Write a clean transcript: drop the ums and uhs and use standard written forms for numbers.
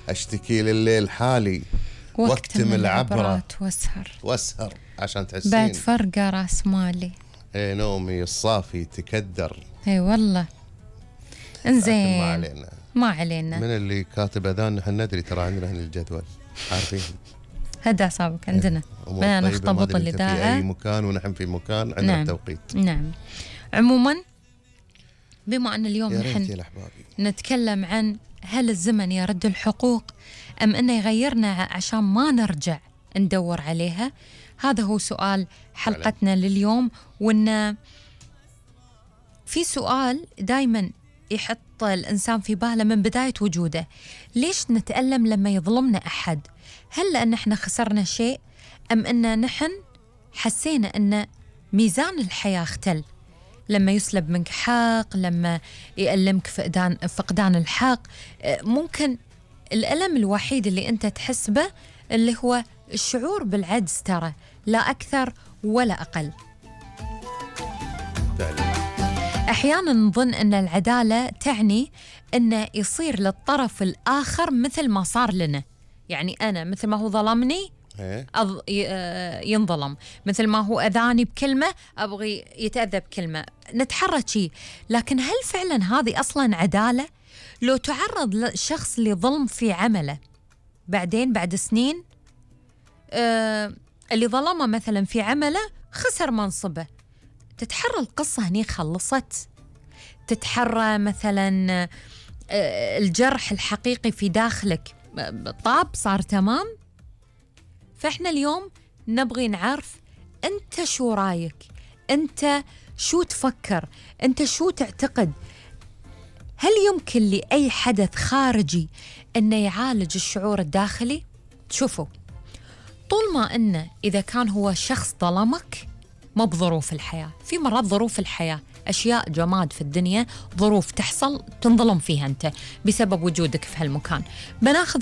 أشتكي لليل حالي واكتم العبرة واسهر عشان تحسين بعد فرقة راس مالي. ايه نومي الصافي تكدر. اي والله. انزين ما علينا من اللي كاتب اذان. نحن ندري ترى عندنا هنا الجدول عارفين. هدى اعصابك عندنا بدنا نختبط الاذاعه في اي مكان ونحن في مكان عندنا نعم. التوقيت. نعم. عموما بما ان اليوم نحن نتكلم عن هل الزمن يرد الحقوق ام انه يغيرنا عشان ما نرجع ندور عليها، هذا هو سؤال حلقتنا لليوم. وإن في سؤال دايما يحط الإنسان في باله من بداية وجوده: ليش نتألم لما يظلمنا أحد؟ هل لأن احنا خسرنا شيء أم أن نحن حسينا أن ميزان الحياة اختل؟ لما يسلب منك حق، لما يألمك فقدان الحق، ممكن الألم الوحيد اللي أنت تحس به اللي هو الشعور بالعجز، ترى لا أكثر ولا أقل. أحيانا نظن أن العدالة تعني أن يصير للطرف الآخر مثل ما صار لنا، يعني أنا مثل ما هو ظلمني ينظلم، مثل ما هو أذاني بكلمة أبغي يتأذى بكلمة، نتحرك شيء. لكن هل فعلا هذه أصلا عدالة؟ لو تعرض لشخص لظلم في عمله بعدين بعد سنين، اللي ظلمه مثلا في عمله خسر منصبه، تتحرى القصة هني خلصت؟ تتحرى مثلا الجرح الحقيقي في داخلك طاب صار تمام؟ فإحنا اليوم نبغي نعرف أنت شو رايك، أنت شو تفكر، أنت شو تعتقد؟ هل يمكن لأي حدث خارجي أنه يعالج الشعور الداخلي؟ شوفوا، طول ما أنه إذا كان هو شخص ظلمك، ما بظروف الحياة، في مرات ظروف الحياة أشياء جماد في الدنيا، ظروف تحصل تنظلم فيها أنت بسبب وجودك في هالمكان. بناخذ